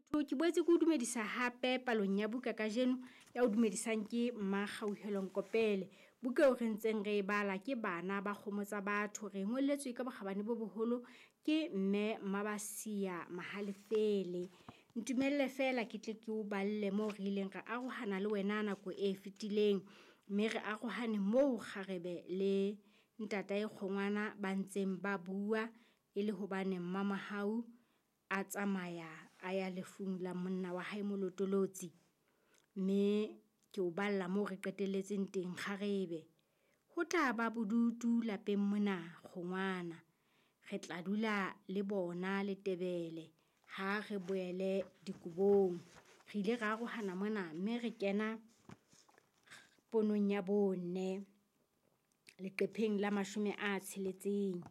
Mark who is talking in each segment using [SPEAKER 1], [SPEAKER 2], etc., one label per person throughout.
[SPEAKER 1] Mosotho ke boetse ke o dumedisa hape palong ya buka kajeno ya o dumedisang ke Mmakgauhelo Nkopele. Buka eo re ntseng re e bala ke Bana ba Kgomo Tsa Batho. Re ngolletswe ka bokgabane bo boholo ke Mme Mmabasia Mahalefele. Ntumelle feela ke tle ke o balle moo re ileng ra arohana le wena nako e fetileng. Mme re arohane moo kgarebe le ntatae kgongwana ba ntseng ba bua e le hobane Mmamohau a tsamaya a ya lefung la monna wa hae Molotolotsi. Mme ke o balla moo re qetelletseng teng kgarebe. Ho tla ba bodutu lapeng mona kgongwana. Re tla dula le bona Letebele ha re boele dikobong. Re ile ra arohana mona mme re kena ponong ya bone leqepheng la 60.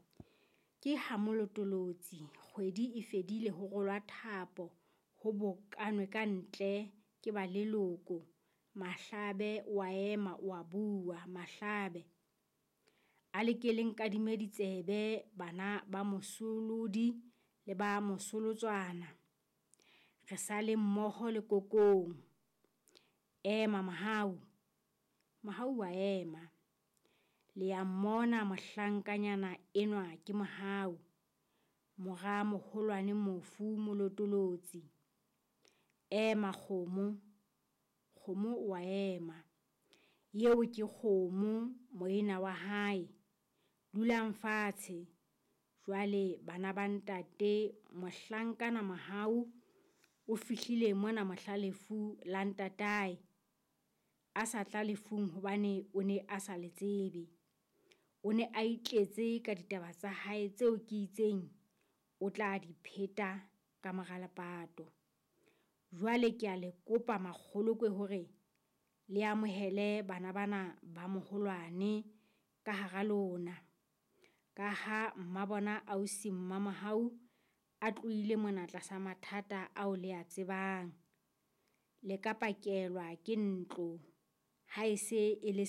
[SPEAKER 1] Ke ha Molotolotsi kgwedi e fedile ho rolwa thapo, ho bokanwe ka ntle ke ba leloko. Mahlabe o a ema o a bua. Mahlabe, a le ke le nkadime ditsebe bana ba mosolodi le ba mosolotswana. Re sa le mmoho lekokong. Ema Mohau. Mohau wa ema. Le ya mmona mohlankanyana enwa ke Mohau, mora moholwane mofu Molotolotsi. Ema Kgomo. Kgomo o a ema. Eo ke Kgomo moena wa hae. Dulang fatshe. Jwale bana ba ntate mohlankana Mohau o fihlile mona mohla lefu la ntatae. A sa tla lefung hobane o ne a sa le tsebe. O ne a itletse ka ditaba tsa hae tseo ke itseng o tla di pheta ka mora lepato. Jwale ke a le kopa makgolokwe hore le amohele bana bana ba moholwane ka hara lona. Ka ha mmabona ausi Mmamohau a tlohile mona tlasa mathata ao le a tsebang. Le ka pakelwa ke ntlo ha e se e le.